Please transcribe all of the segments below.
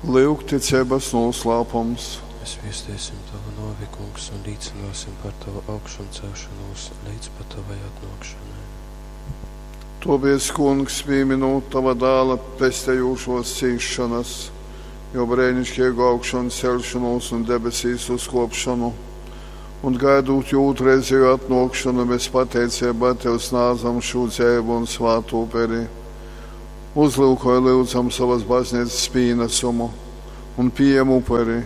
Lyugticeibas nūslāpums. Mēs viesteisim Tavu nōvi, Kungs, un līcināsim par Tavu augšancelšanos leidz pat Tavai atnōkšanai. Tōpēc, Kungs, pīminūt Tava dāla pestejūšōs cīsšonas, jō breiniškeigu augšanceļšonūs un debesīs uzkōpšonu, un gaidūt jō ūtrreizejū atnōkšonu, mēs pateiceibā Tev snādzam šū dzeivu un svātu uperi. Uzlyukoj, lyudzam, sovas bazneicas pīnasumu un pījem uperi,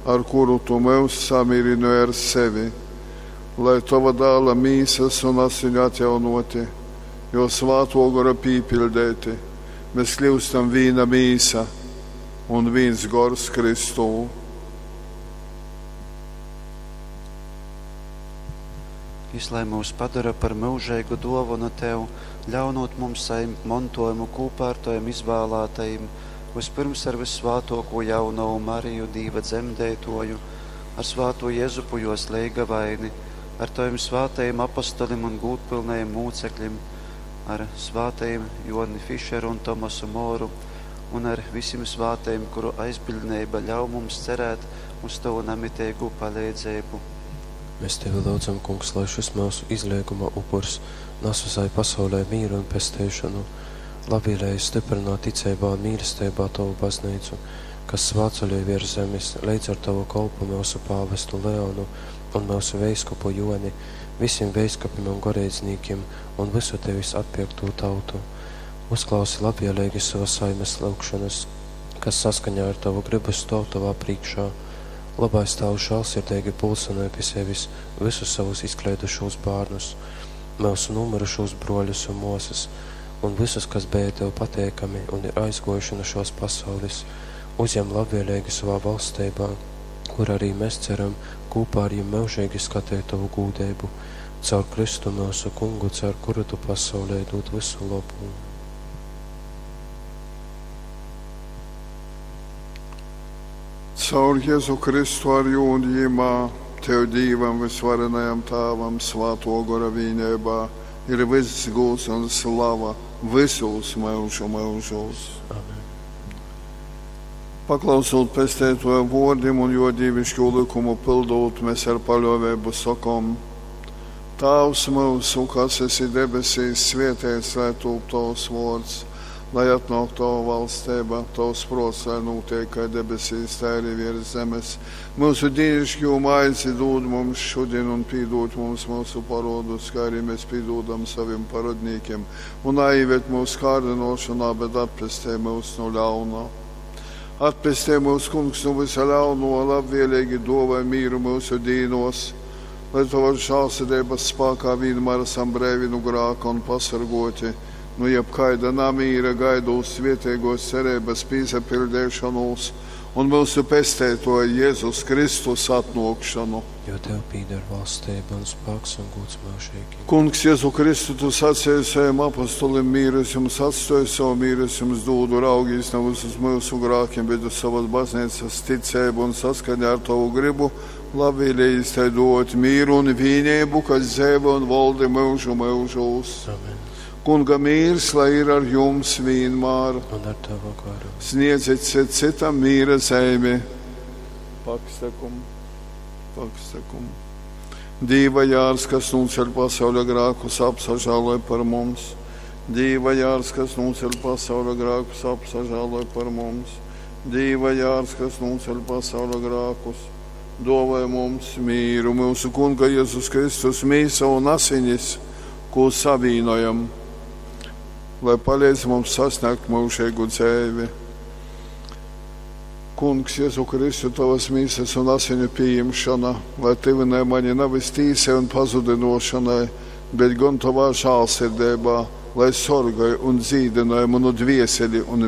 ar kuru Tu myus samīrynoj ar sevi, lai Tova dāla mīsas un asiņu atjaunoti, jo svātō gora pīpiļdeiti, mēs kļūstam vīna mīsa un vīns gors Kristū. Jys lai myus padora par myužeigu dōvonu Tev, ļaunūt mums sajimt montōjumu kūpā ar Tovim izvālātajim, vyspyrms ar vyssvātōkū jaunovu Mariju, Dīva dzemdeitōju, ar svātū Jezupu jōs leigavaini, ar Tovim svātajim apostolim un gūdpylnajim mūceklim, ar svātajim Jōni Fišeru un Tomasu Moru un ar visim svātajim, kuru aizbiļdneiba ļauj mums cerēt uz Tovu namiteigū paleidzeibu. Mēs Tevi lyudzam, Kungs, lai šys myusu izleiguma upurs nas visai pasaulei mīru un pesteišonu. Labvēlīgi stiprināt ticeibā un mīlesteibā Tovu baznīcu, kas svātceļoj virs zemes, leidz ar Tavu kolpu myusu pāvestu Leonu un myusu veiskupu Joni, visiem veiskupim un goreidznīkiem un visu Tevis atpirktū tautu. Uzklausi labvēlīgi savas saimes lūgšanas, kas saskaņā ar Tavu gribu stāv Tavā priekšā. Labais Tēvs žēlsirdīgi pulcinē pie sevis visus savus izkleidušos bērnus, mūsu nomirušos broļus un māsas, un visus, kas bija Tev pateikami un ir aizgojuši no šos pasaules, uzņem labvēlīgi savā valstībā, kur arī mēs ceram kopā ar jums mūžīgi skatīt Tavu gūdību, caur Kristu mūsu kungu, caur kuru Tu pasaulē dod visu labu. Caur Jēzu Kristu ar jū un jimā, Tev Dīvam visvarenajam Tāvam svāto gora vīneibā ir viss gūds un slava visos myužu myužos. Amen. Paklausot pesteitoja vōrdim un jo dīvišķo likumu pildot, mēs ar paļōveibu sakom: Tāvs mūsu, kas esi debesīs, svētīts lai tūp tavs vārds, lai atnāk tava valstība, tavs prāts, lai notiek kā debesīs, tā arī virs zemes. Mūsu dīnišķo maizi dod mums šodien un pīdod mums mūsu parodus, kā arī mēs pīdodam saviem parodnīkiem, un aieved mūsu kārdinošanā, bet atpestē mūs no ļauna. Atpestē mūs, kungs, no visa ļauno, labvēlīgi dāvā mīru mūsu dīnos, lai tavas žēlsirdības spēkā vienmēr esam brīvi no grāka un pasargoti no jebkaida namīra gaidot svētīgos cerības pīsapildīšanos un mūsu pestētoja Jēzus Kristus atnākšanu. Jo Tev pīder valstība un spēks un gods mūžīgi. Kungs, Jēzu Kristu, tu sacīji saviem apostolim, mīru es jums atstāju, savu mīru es jums dodu, raugīs nevis uz mūsu grākiem, bet uz savas baznīcas ticību un saskaņā ar tavu gribu, labvēlīgi tai dot mīru un vienību, kas dzīvo un valdi mūžu mūžos. Amen. Kunga mīrs, lai ir ar jums vienmēr. Un ar Tavu garu. Sniedziet cits citam mīra zeimi. Pakstekum, pakstekum. Dīva jārs, kas nūceļ pasauļa grākus, apsažāloj par mums. Dīva jārs, kas nūceļ pasauļa grākus, apsažāloj par mums. Dīva jārs, kas nūceļ pasauļa grākus, dāvāj mums mīru. Mūsu Kunga Jēzus Kristus mīsa un asinis, ko savīnojam, lai palīdz mums sasniegt mūžīgu dzīvi. Kungs, Jēzu Kristu, tavas mīsas un asiņu pieņemšana, lai tevinē mani nevis tīsai un pazudinošanai, bet gan tavā žēlsirdībā, lai sorgāj un dzīdināj manu dvieseli un